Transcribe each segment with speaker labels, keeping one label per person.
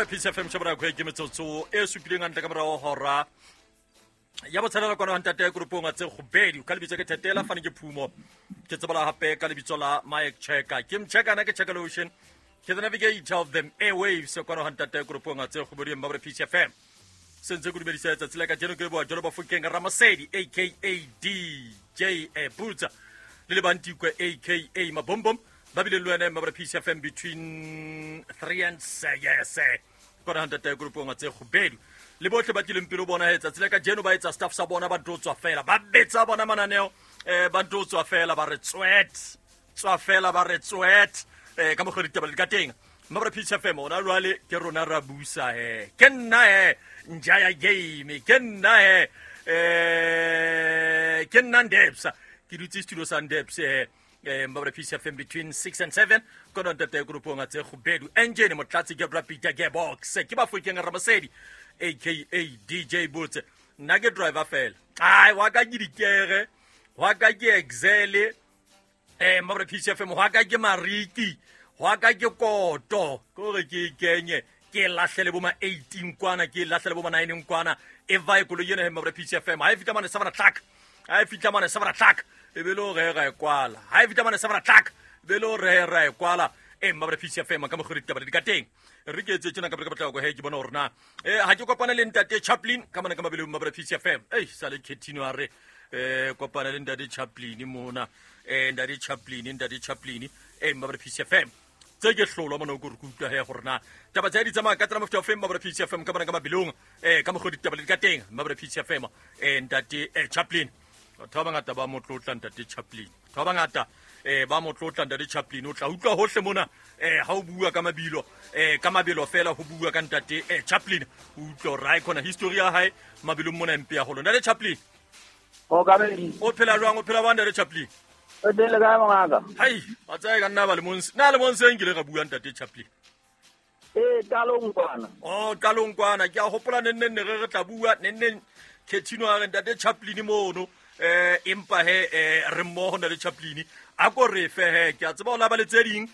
Speaker 1: Peace FM shebra kwe ke metsotso e supileng hantle ka morao hora ya botshelela kwana ntate koropong tse gobedi ka lebitso ke thetela fane ke phumo ke tsebala hape ka lebitso la Mike Checker ke mcheka na ke Checker Lotion ke the navigator of them airwaves kwana ntate koropong tse gobedi mma Peace FM sentse ke dumedisa letsatsi la kajeno ke leboa jalo bafokeng Ramasedi aka DJ Butsa le lebantikwe aka Mabombom ba bile le wena mma Peace FM between 3 and 6 yes kona ntate koropong tse gobedi le botlhe ba tlileng pele bona he tsatsi la kajeno ba etsa staff sa bona ba ntlo tswa fela ba betsa bona mananeo ba ntlo tswa fela ba re tswet tswa fela ba re tswet ka mokgwa ditaba di ka teng mma Peace FM ona jwale ke rona ra busa he ke nna he nja ya game ke nna he ke nna Ndebsa ke dutse studio sa Ndebsa he mma Peace FM between 6 and 7 kono ntate koropong tse gobedu engine motlatsi ke Peter Gearbox ke bafokeng Ramasedi aka DJ Botse nna ke driver fela ai wa ka ke dikere wa ka ke Excel mma Peace FM wa ka ke mariki wa ka ke koto ke gore ke kenye ke lahlele bo ma 18 kwana ke lahlele bo ma 9 kwana e vae koloi ena mma Peace FM ha e fitla mane 7 o'clock ha e fitla mane 7 o'clock e be le gore ra e kwala ha e fitla mane 7 o'clock be le gore ra e kwala mma Peace FM ka mokgwa ditaba di ka teng re ke etse tjena ka pele ka potlako he ke bona hore na ha ke kopane le ntate Chaplin ka mona ka mabeleng mma Peace FM sale Khetino a re kopana le ntate Chaplin mona ntate Chaplin mma Peace FM tse ke hlolwa mona ko re kutlwa he gore na taba tsa di tsamaya ka tsela mofuta o feng mma Peace FM ka mona ka mabelong ka mokgwa ditaba di ka teng mma Peace FM ntate Chaplin batho ba bangata ba motlotla ntate Chaplin batho ba bangata ba motlotla ntate Chaplin o tla utlwa hohle mona ha o bua ka mabilo ka mabelo fela ho bua ka ntate Chaplin o utlwa hore ha e khona history ya hae mabelong mona mpe ya holo ntate Chaplin
Speaker 2: o ka be
Speaker 1: o phela jwang o phela bang ntate Chaplin
Speaker 2: o dele ka mongaka
Speaker 1: hai ba tsaya ka nna ba le monse na le monse nkile ga bua ntate Chaplin
Speaker 2: qalong kwana
Speaker 1: qalong kwana ke a hopola nenne re tla bua nenne Khetino a re ntate Chaplin mono empa he re mmoho ntate Chaplin a ko re fe he ke a tseba o laba le tse ding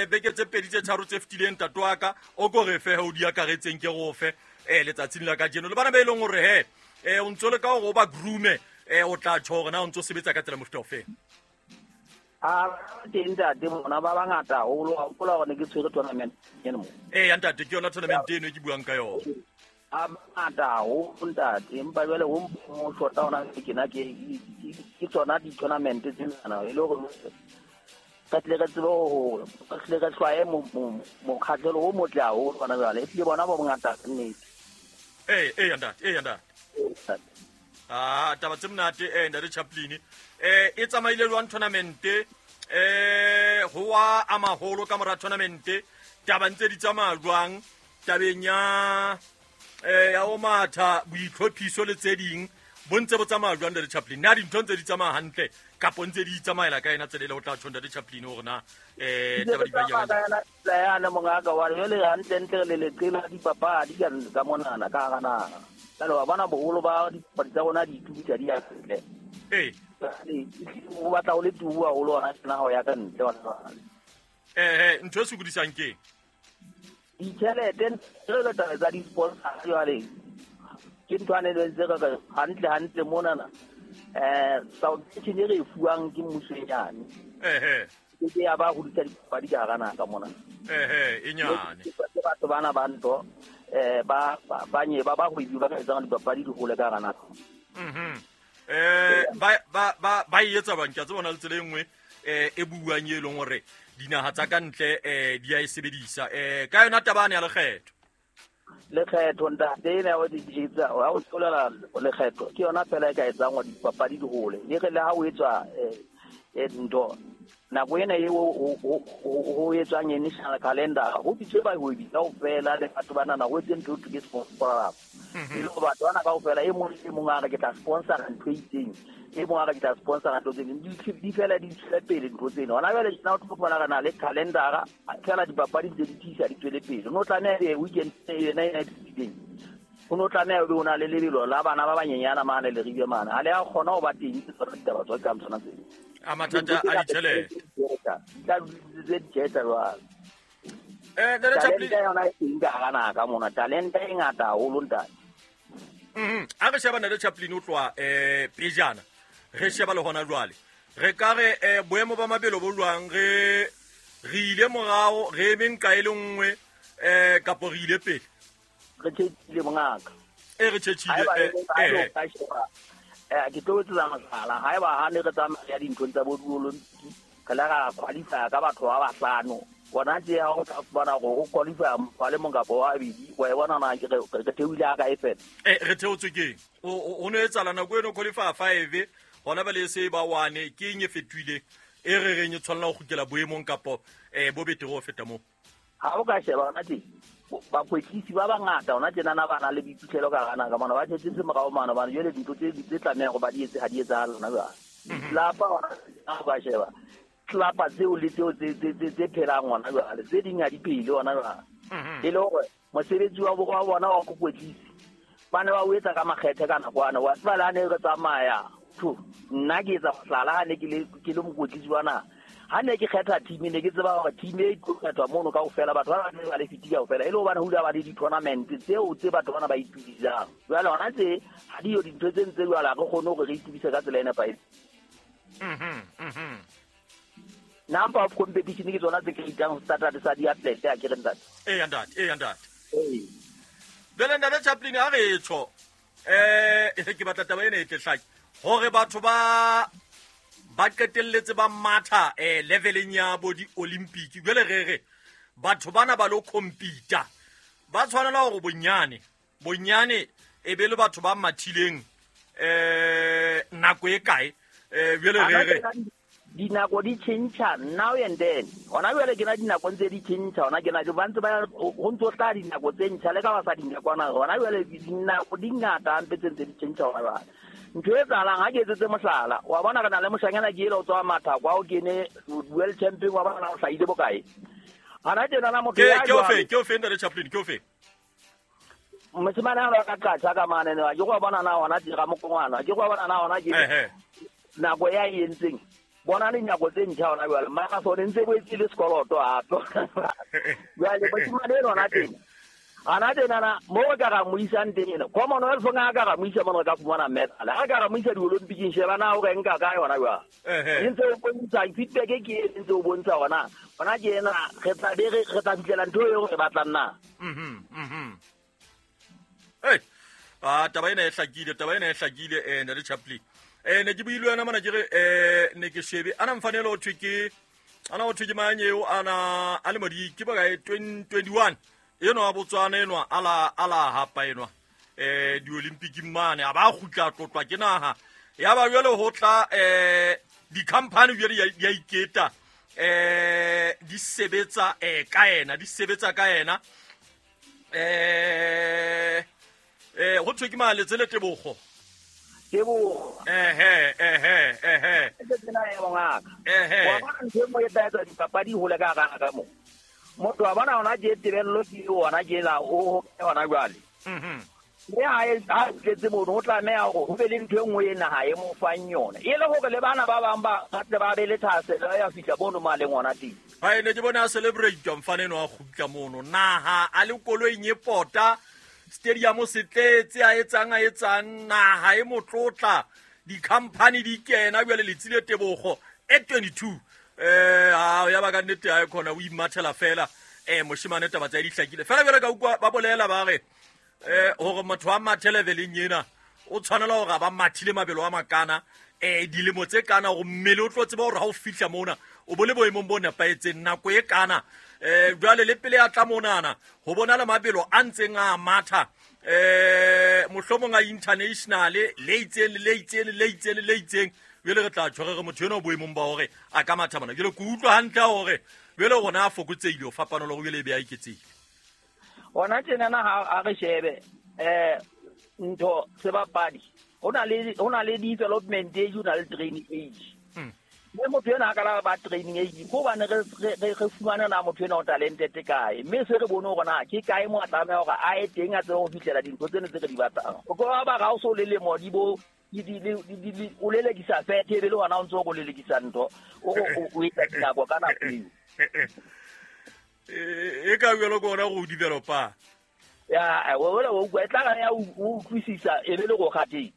Speaker 1: beke tse pedi tse tharo tse fetileng ntate wa ka o ko re fe he o di akaretseng ke go fe letsatsing la kajeno le bana ba e leng hore he o ntso le ka hore o ba groome o tla tjho hore na o ntso sebetsa ka tsela mofuta ofe
Speaker 2: a teng ntate bona ba bangata haholo a hopola hore ne ke tshwere tournament eno mo
Speaker 1: ya ntate ke yona tournament eno e ke buang ka yona
Speaker 2: a bangata haholo ntate empa jwale ho mo shota hona ke na ke tsona di-tournament tsenana e le hore re tle re tsebe ho re tle re hlwaye mokgahlelo o motle haholo hona jwale ehlile bona ba bongata nnete
Speaker 1: ntate taba tse monate ntate Chaplin e tsamaile jwang tournament ho wa a maholo ka mora tournament taba ntse di tsamaya jwang tabeng ya ya o matha boitlhophiso le tse ding bo ntse bo tsamaya jwang ntate Chaplin na dintho ntse di tsamaya hantle kapo ntse di tsamaela ka ena tsela e le ho tla tjho ntate Chaplin hore na taba di ba
Speaker 2: yana mongaka wa jwale hantle ntle le leqela dipapadi ka monana ka hara naha jwale wa bona boholo ba dipapadi tsa rona di itubisa di ya ntle o batla o le tubu haholo hona tjena ha o ya ka ntle
Speaker 1: ntho e sokodisang ke
Speaker 2: ditjhelete re taba tsa di-sponsor jwale ke ntho ane le ntse re hantle hantle monana subvention e re e fuwang ke mmuso e nyane ke ya ba hodisa dipapadi ka hara naha ka mona
Speaker 1: e nyane
Speaker 2: ke batho bana ba ntho ba ba nye ba bahwebi ba ka etsang dipapadi di hole ka hara naha
Speaker 1: ba e etsa bang ke a tseba hona le tsela e nngwe e buang e leng hore dinaha tsa ka ntle di a e sebedisa ka yona taba ane ya lekgetho
Speaker 2: lekgetho ntate ena ya ha o tlolela lekgetho ke yona fela e ka etsang hore dipapadi di hole e re le ha o etswa ntho nako ena e ho etswang e national calendar ho bitswe bahwebi kaofela le batho banana ho etse ntho ke sponsor e le batho bana kaofela e mong le mong a re ke tla sponsor ntho e itseng e mong a re ke tla sponsor ntho tse ding di fela di tswele pele ntho tsena hona jwale tjena o tlo fumana re na le calendar fela dipapadi ntse di tiisa di tswele pele no tlameha e weekend ena e fetileng o no tlameha o be o na le lebelo la bana ba banyenyana mane le ribe mane ha le a kgona ho ba teng ke tsona ditaba tsa ka tsona tseo
Speaker 1: a mathata a ditjhelete
Speaker 2: tla tse ditjhelete jwale. Talente yona e teng ka hara naha ka mona, talente e ngata haholo ntate.
Speaker 1: A re sheba Ntate Chaplin o tloha pejana, re sheba le hona jwale. Re ka re boemo ba mabelo bo jwang, re ile morao, re eme nka e le nngwe, kapo re ile pele?
Speaker 2: Re tjhetjhile mongaka.
Speaker 1: Re tjhetjhile.
Speaker 2: Ke tlo etsetsa mohlala, haeba ha ne re tsamaya dinthong tsa bo di-Olympic, re la ra qualify ka batho ba bahlano. Bona tje ha o tla fumana hore o qualify motho a le mong kapa wa babedi, wa e bona na ke re theohile ha kae fela.
Speaker 1: Re theotswe keng? O no etsahala nako eno qualify 5, hona bale e se ba 1, ke eng e fetohileng e re reng e tshwanela ho kgutlela boemong kapo bo betere ho feta moo?
Speaker 2: Ha o ka sheba hona tje, bakwetlisi ba bangata hona tjenana ba na le boiphihlelo ka hara naha ka mona, ba tjhetse morao mane hobane jwale dintho tse tlamehang hore ba di etse ha di etsahale hona jwale. Lapa hona ha o ka sheba tlelapa tseo le tseo tse phelang hona jwale, tse ding ha di phele hona jwale. E le hore mosebetsi wa bona wa bokwetlisi ba ne ba o etsa ka makgethe ka nakwana. Wa tseba le ha ne re tsamaya, nna ke etsa mohlala ha ne ke le mokwetlisi wa naha. Ha ne ke kgetha team, ne ke tseba hore team e tlo kgethwa mono kaofela, batho ba bang ba le fiti kaofela, e le hobane ho dula ba le di-tournament tseo tse batho bana ba itukisang. Jwale hona tse ha diyo dintho tse ntse jwale, ha re kgone hore re itukise ka tsela e nepahetseng. Number of competition ke tsona tse creatang standard sa di-athlete, ha ke re ntate?
Speaker 1: Eya ntate, eya ntate. Jwale ntate Chaplin, ha re tjho, ke batla taba ena e tle hlake hore batho ba qetelletse ba matha leveleng ya bo di-Olympic. Jwale re re batho bana ba lo compete, ba tshwanela hore bonyane e be le batho ba mathileng nako e kae? Jwale re re
Speaker 2: dinako di tjhentjha now and then. Hona jwale ke na dinako ntse di tjhentjha, hona ke na ba ntse ba ho ntso tla dinako tse ntjha le ka ba sa dinakwana. Hona jwale dinako di ngata hampe tse ntse di tjhentjha hona jwale. Ntho e etsahalang ha ke etsetse mohlala, wa bona re na le moshanyana ke ele o tswa Mathako, o kene world champion, wa bona o hlahile bokae. Hana tjenana motho ya
Speaker 1: jwale. Ke o fe Ntate Chaplin, ke o fe?
Speaker 2: Moshemane ha ba ka qatjha ka mane, ke go bona na hona dira mokongwana, ke go bona na hona ke nako ya e entseng. Bona dinako tse ntjha hona jwale, mara sone ntse bo etsile sekoloto hape. Jwale moshemane eno hona teng, hana tjenana mo re ka ra mo isang teng ena, Commonwealth nga ka ra mo isa mona re ka fumana medal. Ha ka ra mo isa di-Olympicing, sheba na o re nka kae hona jwale. E ntse o bontsha feedback ke e ntse o bontsha hona. Hona ke ena re tla be re tla fihlela ntho eo re batlang na.
Speaker 1: Taba ena e hlakile, taba ena e hlakile, Ntate Chaplin. Ne ke buile wena mona ke re ne ke shebe ana mfanelo ho thwe ke ana ho thwe ke mang eo ana a le modi ke bokae 2021 enwa Botswana enwa ala hapa enwa di-Olympic mane a ba kgutla tlotlwa ke naha ya ba jwale ho tla di-company jwale di a iketa di sebetsa ka ena di sebetsa ka ena ho thwe ke Maletse le Tebogo.
Speaker 2: Tebogo.
Speaker 1: Ehe.
Speaker 2: Ke tsena ya bongaka. Wa bona ntho e nngwe e tla etsa dipapadi hole ka hara ka moo. Motho wa bona hona je tebello ke yona ke la o hona jwale. Mme ha tletse mono ho tlameha hore ho be le ntho e nngwe e naha e mo fang yona. E le hore le bana ba bang ba tle ba be le thahasello ya fihla mono mo a leng hona teng.
Speaker 1: Hai ne ke bona a celebrate mfane eno a kgutla mono. Naha a le koloing e pota, stadium se tletse a etsang naha e motlotla, di-company di kena jwale Letsile Tebogo e 22. Ya ba ka nnete ha e khona o imathela fela. Moshemane taba tsa di hlakile. Fela jwale ka utlwa ba bolela ba re hore motho wa mathe leveleng ena o tshwanela hore a ba mathile mabelo a makana dilemo tse kana hore mmele o tlo tseba hore ha o fihla mona o bo le boemong bo nepahetseng nako e kana. Jwale le pele a tla monana ho bona le mabelo a ntseng a matha mohlomong a international le itseng le itseng le itseng le itseng. Jwale re tla tshware re motho ena o boemong ba hore a ka matha mona. Jwale ke utlwa hantle hore jwale rona a fokotsehile ho fapana le hore jwale e be a iketsehile.
Speaker 2: Hona tjenana ha re shebe ntho sebapadi ho na le development age, ho na le training age. Mme motho ena a ka la ba training age ko bane re fumana na motho ena o talented kae, mme se re bone hore na ke kae mo a tlameha hore a ye teng a tsebe ho fihlela dintho tsena tse re di batlang. O ka ba ga o so le lemo di bo o lelekisa fethe ebe le hona o ntso o lelekisa ntho o etsa dinako ka nako eo.
Speaker 1: E ka jalo ke ona go developa.
Speaker 2: Ya wela o utlwa e tla ya o utlwisisa e be le go gateng.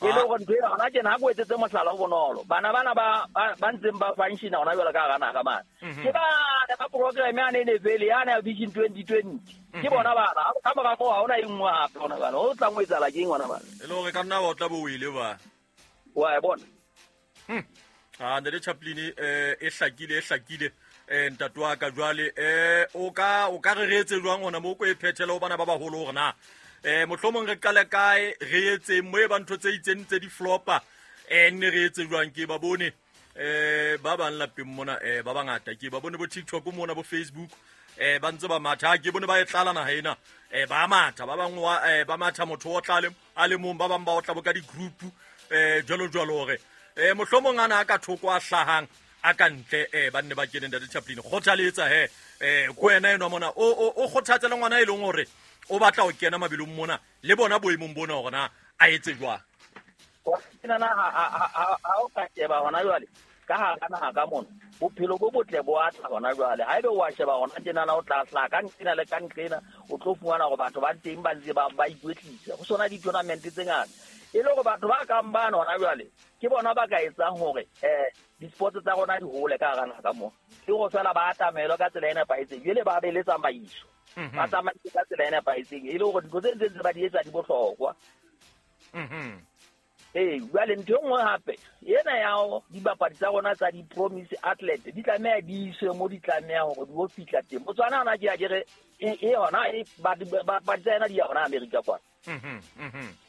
Speaker 2: E le gore ntho e gona tjena ha ko etsetse mohlala o bonolo. Bana bana ba ntseng ba functiona hona jwale ka hara naha mane. Ke bana ba program yane e ne fele yane ya Vision 2020. Ke bona bana ka mora moo ha hona e nngwe hape hona jwale. Ho tlang ho etsahala ke eng hona bana?
Speaker 1: E le hore ka nna wa tla bo wele ba.
Speaker 2: Wa e bona.
Speaker 1: Ah, Ntate Chaplin e hlakile ntate wa ka jwale o ka re re etse jwang hona mo ko e phethela ho bana ba baholo hore na mohlomong re qale kae re etseng mo e ba ntho tse itseng tse di flopa nne re etse jwang? Ke ba bone ba bang lapeng mona ba bangata, ke ba bone bo TikTok mona, bo Facebook, ba ntse ba matha. Ke bone ba e tlala naha ena, ba matha ba bang ba matha motho o tlale a le mong, ba bang ba otla bo ka di-group jwalo jwalo hore mohlomong ana a ka thoko a hlahang a ka ntle ba nne ba kene. Ntate Chaplin, kgothaletsa he ko wena enwa mona o kgothatse le ngwana e leng hore o batla ho kena mabelong mona le bona boemong bona hore na a etse jwang.
Speaker 2: Nana ha o ka sheba hona jwale ka hara naha ka mona bophelo bo botle bo atla hona jwale. Ha ebe wa sheba hona tjenana o tla hlaha ka nqena le ka nqena, o tlo fumana hore batho ba teng ba ntse ba ikwetlisa. Ho sona di-tournament tse ngata e le hore batho ba kang bana hona jwale ke bona ba ka etsang hore di-sports tsa rona di hole ka hara naha ka mona. Ke hore feela ba atamelwe ka tsela e nepahetseng, jwale ba be le tsamaiso. Ba tsamaise ka tsela e nepahetseng e le hore dintho tse ntse ba di etsa di bohlokwa. Jwale ntho e nngwe hape ena ya dibapadi tsa rona tsa di-promise athlete di tlameha di iswe mo di tlameha hore di o fihla teng. Botswana hona ke a ke re e hona e bapadi tsa yena di ya hona Amerika kwana.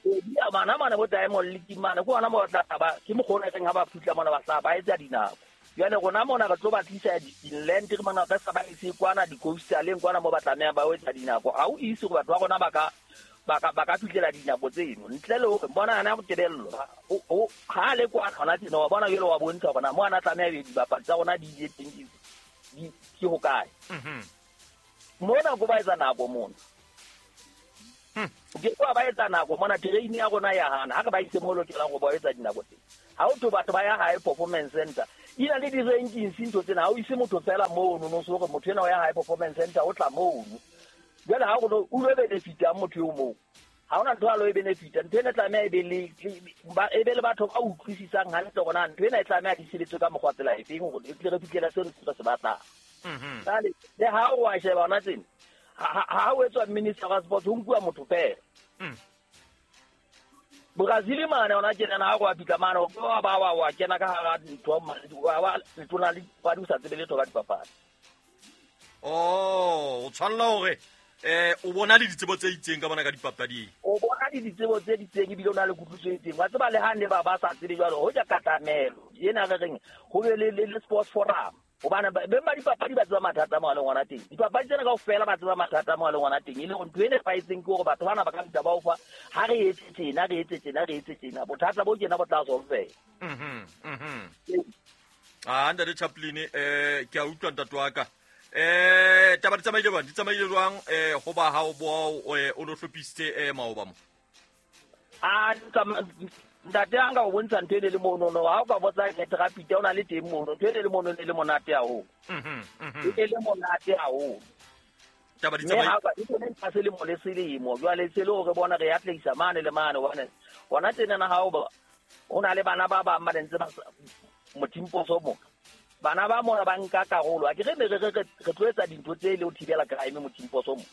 Speaker 2: Di ya mana mane bo Diamond League mane ke hona mo tla ba ke mokgwa o reng ha ba fihla mona ba hlaha ba etsa dinako. Jwale rona mona re tlo ba tlisa di-inland re mona re sa ba ise kwana di-coastaleng kwana mo ba tlameha ba etsa dinako. Ha o ise hore batho ba rona ba ka fihlela dinako tseno ntle le hore bona ana go tebello ha le kwa hona tjena wa bona jwale wa bontsha hore na mo ana tlameha be dibapadi tsa rona di ile teng di ke hokae. Mona ko ba etsa nako mona. Ke kwa ba etsa nako mona terrain ya rona ya hana ha re ba ise mo lokelang go ba etsa dinako teng. Ha o to batho ba ya high performance center ina le di-rankings ntho tsena, ha o ise motho fela mono no so hore motho ena o ya high performance center o tla mono. Jwale ha o lo benefita motho eo moo, ha hona ntho a lo e benefita. Ntho ena e tlameha e be le batho ba utlwisisang hantle hore na ntho ena e tlameha di sebetse ka mokgwa tsela efeng hore e tle re fihlele seo re se batlang. Jwale le ha o wa sheba hona tsena, ha o etswa minister wa sports ho nkuwa motho fela. Brazil mane hona tjena ha o wa fihla mane o ba wa kena ka hara ntho wa letona le dipapadi o sa tsebe letho ka dipapadi.
Speaker 1: Oh, o tshwanela hore o bona le ditsebo tse itseng ka bona ka dipapading.
Speaker 2: O bona le ditsebo tse itseng ebile o na le kutlwisiso e itseng. Wa tseba le ha ne ba sa tsebe jwalo ho ja katamelo ena re reng ho be le sports forum. Hobane beng ba dipapadi ba tseba mathata mo a leng hona teng. Dipapadi tsena kaofela ba tseba mathata mo a leng hona teng. E le hore ntho e nepahetseng ke hore batho bana ba ka fihla ba o fa ha re etse tjena, re etse tjena, re etse tjena. Bothata bo tjena bo tla solveha.
Speaker 1: Ah, Ntate Chaplin, ke a utlwa ntate wa ka. Taba di tsamaile jwang? Di tsamaile jwang ho ba ha o bo o no hlophisitse maoba mo?
Speaker 2: Ah, ntate a nka o bontsha ntho e le mono no, ha o ka botsa ke o na le teng mono, ntho e le mono e le monate haholo. E le monate haholo.
Speaker 1: Taba di tsamaile.
Speaker 2: E tsene ka selemo le selemo, jwale se le hore bona re atlehisa mane le mane hobane hona tjena na ha o ba o na le bana ba bang ba ntse ba mothimposo mo. Bana ba mona ba nka karolo. A ke re re tlo etsa dintho tse le ho thibela crime mothimposo mo.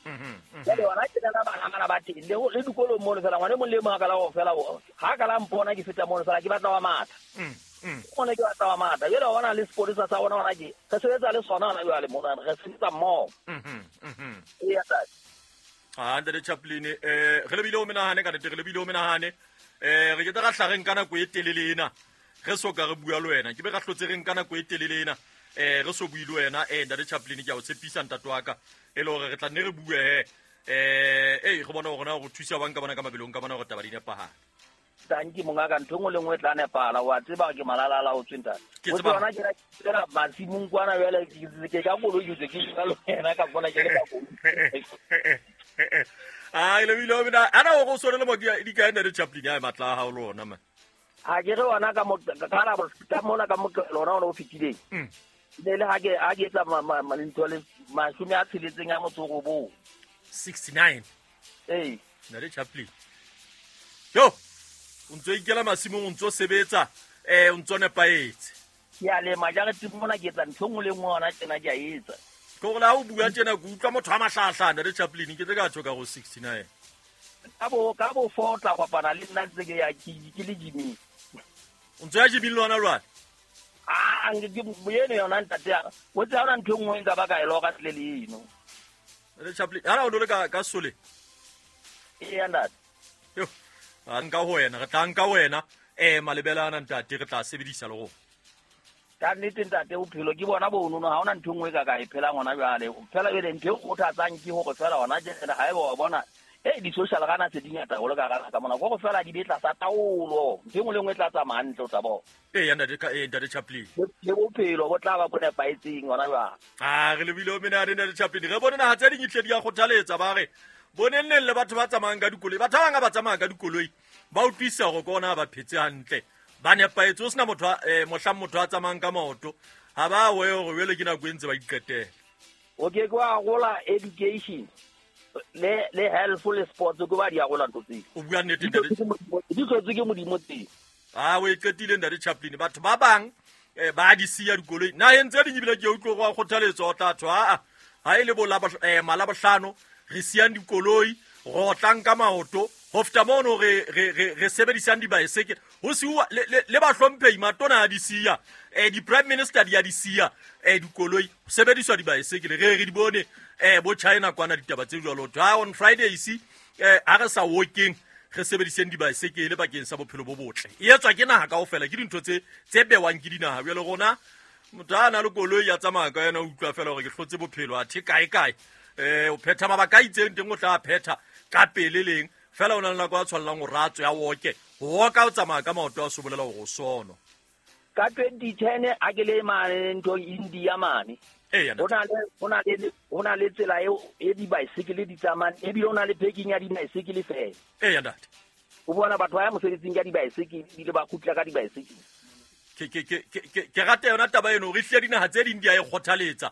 Speaker 2: Jwale hona tjena na bana bana ba teng le dikolong mono fela ngwana e mong le mong a ka la ho fela ha ka la mpona ke feta mono fela ke batla wa matha. Mona ke batla wa matha. Jwale hona le sepolesa sa rona hona ke re sebetsa le sona hona jwale mona re sebetsa mmoho. Eya ntate.
Speaker 1: Ah, Ntate Chaplin, re lebile o menahane ka nnete, re lebile o menahane. Re ke tla ra hla re nka nako e telele ena. Re so ka re bua le wena, ke be ra hlotse re nka nako e telele ena. Re so bue le wena, Ntate Chaplin, ke a o tshepisa ntate wa ka. E le hore re tla nne re bue he. Re bona hore na re thusa bang ka bona ka mabelong ka bona hore taba di nepahale.
Speaker 2: Tanki mongaka, ntho e nngwe le nngwe e tla nepahala. Wa tseba ke malalala o tswe ntate.
Speaker 1: Ke tseba.
Speaker 2: Hona ke ra masimong kwana jwale, ke ka koloi ke tswe ke jwalo wena ka bona ke le ka koloi.
Speaker 1: Ah, le bile o bina. Ana o go sone le mo di kae Ntate Chaplin ya matla a hao le ona man.
Speaker 2: Ha ke re wona ka mo ka la ka mona ka moqebelo ona o fetileng. Ne le ha ke etsa ntho le 69.
Speaker 1: 69.
Speaker 2: Ee.
Speaker 1: Ntate Chaplin, yo o ntso ikela masimong, o ntso sebetsa, o ntso nepahetse.
Speaker 2: Ke a lema jareteng mona, ke etsa ntho e nngwe le nngwe hona tjena, ke a etsa.
Speaker 1: Ke gore le ha o bua tjena ke utlwa motho a mahlaahla. Ntate Chaplin, ke tle ka tjho ka go 69.
Speaker 2: Ka bo 4 o tla kopana le nna ntse ke ya ke le gyming.
Speaker 1: O ntso ya gyming le hona jwale?
Speaker 2: Ah, nke ke eno yona, ntate, o tse ha hona ntho e nngwe nka ba ka e loka tle le eno.
Speaker 1: Ntate Chaplin, hana o no le ka sole?
Speaker 2: Eya, ntate.
Speaker 1: Yo, a nka ho wena, re tla nka wena malebela ana, ntate, re tla sebedisa le rona.
Speaker 2: Ka nnete, ntate, bophelo ke bona bonono, ha hona ntho e nngwe ka e phelang hona jwale. Fela jwale ntho e kgothatsang ke hore fela hona jwale ha eba wa bona e di-social gana se di ngata haholo ka gana ka mona, ko go fela di be tlasa taolo, ntho e nngwe le nngwe e tla tsamaya hantle, o tla bona.
Speaker 1: Eya, ntate, ntate Chaplin.
Speaker 2: Le bophelo bo tla ba bo nepahetseng hona jwale.
Speaker 1: A re lebile o menane, ntate Chaplin. Re bone naha tse ding ehlile di a kgothaletsa, ba re boneng neng le batho ba tsamayang ka dikoloi. Batho ba bang ha ba tsamaya ka dikoloi ba utlwisisa hore ke ona ba phetse hantle, ba nepahetse, o sena motho mohlang motho a tsamayang ka maoto ha ba we hore jwale ke nako e ntse ba iqetela.
Speaker 2: O ke ke wa gola education le health le sports, ke ba di a gola ntho tseo.
Speaker 1: O bua nnete, ntate.
Speaker 2: Di tlhotswe ke Modimo tseo.
Speaker 1: A o e qetile, ntate Chaplin. Batho ba bang ba di siya dikoloi naheng tse ding, ebile ke utlwe go a kgothaletswa o tla thwa aa ha e le bo Malabohlano re siyang dikoloi, re otlang ka maoto, ho feta mono re sebedisang dibaesekele, ho siuwa le bahlomphehi, matona a di siya, di-prime minister di a di siya dikoloi, ho sebediswa dibaesekele. Re di bone bo China kwana, ditaba tse jwalo. Thwe ha on Fridays ha re sa workeng, re sebediseng dibaesekele bakeng sa bophelo bo botle. E etswa ke naha kaofela, ke dintho tse bewang ke dinaha. Jwale rona motho a na le koloi ya tsamaya ka yona, o utlwa fela hore ke hlotse bophelo, athe kae kae o phetha mabaka a itseng teng, o tla phetha ka pele leng fela, o na le nako a tshwanelang hore a tswe a woke ho woka, o tsamaya ka maoto a so bolela hore o sono.
Speaker 2: Ka 2010 a ke le mane nthong India mane,
Speaker 1: Eya.
Speaker 2: ho na le tsela eo e dibaesekele di tsamayang, ebile ho na le parking ya dibaesekele fela.
Speaker 1: Eya, ntate.
Speaker 2: O bona batho ba ya mosebetsing ka dibaesekele, ebile ba kgutla ka dibaesekele.
Speaker 1: Ke rata yona taba eno, re hlile dinaha tse ding di a e kgothaletsa.